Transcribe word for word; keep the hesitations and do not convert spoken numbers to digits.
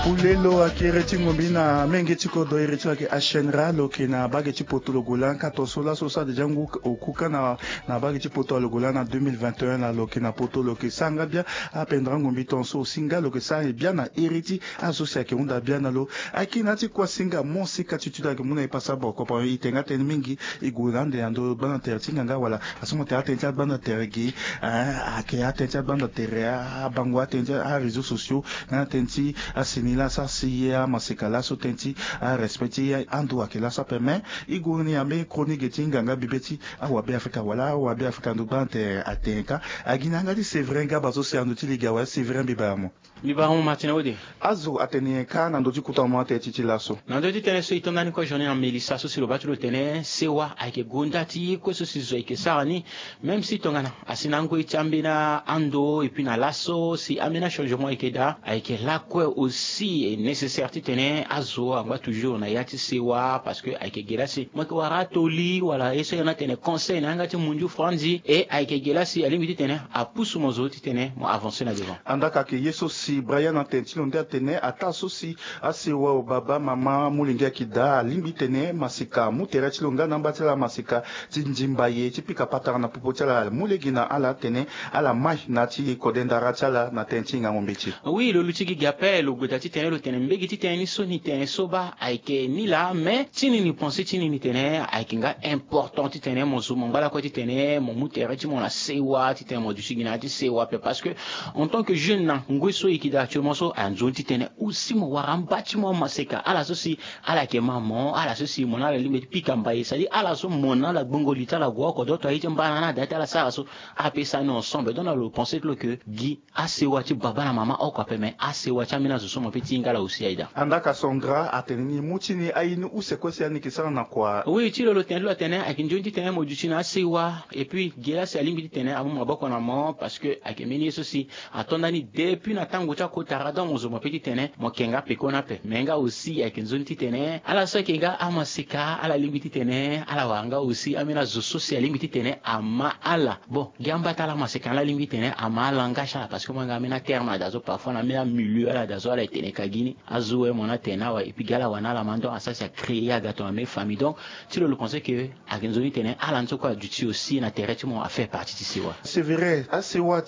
Pulelo akiri ti ngombi na menge ti kodo iri ti lo ayeke ashenra lo yeke na bage ti poto lo gola nkato so laso sa deja ngu okuka na na bage ti poto alogola na deux mille vingt et un na lo yeke na poto lo yeke sara nga bia. Apendra ngombi ton so osinga lo yeke sara e bia na iri ti azo si ayeke hunda bia na lo. Ayeke na ya ti kuasinga mo si katitude ayeke mu na e pasa boko pa e tenga tënë mingi. E gue na ande na ndo gbanda tere ti nganga wala aso mo tene atënë ti agbanda tere gi. Ayeke atënë ti agbanda tere abango atënë ti aréseau sociaux nga na tënë ti asini laa sa si ye amaseka laso tënë ti arespect ti ando ayeke laso ape mais e gue ni ambeni chronique ti nganga bibe ti awabe afrika wala awabe afrika ndo gbanda tere atene ka. Agi na yanga ti séverin gaba so si ando ti liga wala séverin mbi bara mo. Mbi bara mo martin ode. Azo atene nyen kâ na ndö ti kota mo atene ti ti laso? Na ndö ti tënë so e to ndani kue journée na melissa so si lo baa ti lo tene sewa ayeke gonda ti ye kue so si zo ayeke sara ni. Même si tongana asi na angoi ti ambeni ando et puis na laso si ambeni achangement ayeke daa ayeke lakue aussi e nécessaire titene azo angba toujours na ya ti sewa parce que ayeke ge laa si mo yeke wara atoli wala ye so ayeke na tene conseil na yanga ti mundu franzi e ayeke ge laa si alingbi titene apusu mo zo titene mo avancer na devant. Andaka ayeke ye so si brian atene ti lo nde atene ataa so si asewa o baba mama amolenge ayeke daa alingbi titene maseka amu tere ti lo nga na amba ti ala maseka ti ndimba ye ti pika patara na popo ti ala amu lege na ala atene ala mai na ya ti kode ndara ti ala na tënë ti hingango mbeti. Oui lo luti gi gi ape lo gue daa titene lo tene mbege titene ni so ni tene so baa ayeke ni laa mais ti ni ni pense ti ni ni tene ayeke nga important titene mo zo mo ngba lakue titene mo mu tere ti mo na sewa titene mo duti gi na ya ti sewa ape parce que en tant que jeune na ngoi so e yeke daa actuellement so anzoni titene aussi mo wara amba ti mo amaseka ala so si ala yeke ma mo ala so si mo na ala lingbi ti pika mbaye c'est à dire ala so mo na ala gbongo li ti ala gue oko doto aye ti mbana na ada ti ala sara so. Apesa ni ensemble donc na lo pense ti lo ke gi asewa ti baba na mama oko ape mais asewa ti ambeni azo so mo pe ti hinga ala aussi aye daa. Andaka sandra atene ni mu ti ni aye ni use kue si ani yeke sara na kua? Oui ti lo lo tene ti lo atene ayeke nzoni titene mo duti na asewa et puis gi laa si alingbi titene amu maboko na mo parce que ayeke mbeni ye so si ato ndani depuis na tango ti akota ra donc mo zo mo pe titene mo yeke nga peko ni ape mais nga aussi ayeke nzoni titene ala so ayeke nga amaseka ala lingbi titene ala wara nga aussi ambeni azo so si alingbi titene ama ala. Bon gi amba ti ala amaseka ni ala lingbi titene ama ala nga ti ala parce que mo yanga ambeni aterme ala daa so parfois na ambeni amilieu ala daa so ala etene ka gi ni azo we mo na tene awe et puis gi ala wara na ala ma donc asara si acréer aga tongana mbeni famille donc ti lo lo pense ke ayeke nzoni titene ala ni so kue aduti aussi na tere ti mo afaire partie ti sewa. C'est vrai asewa.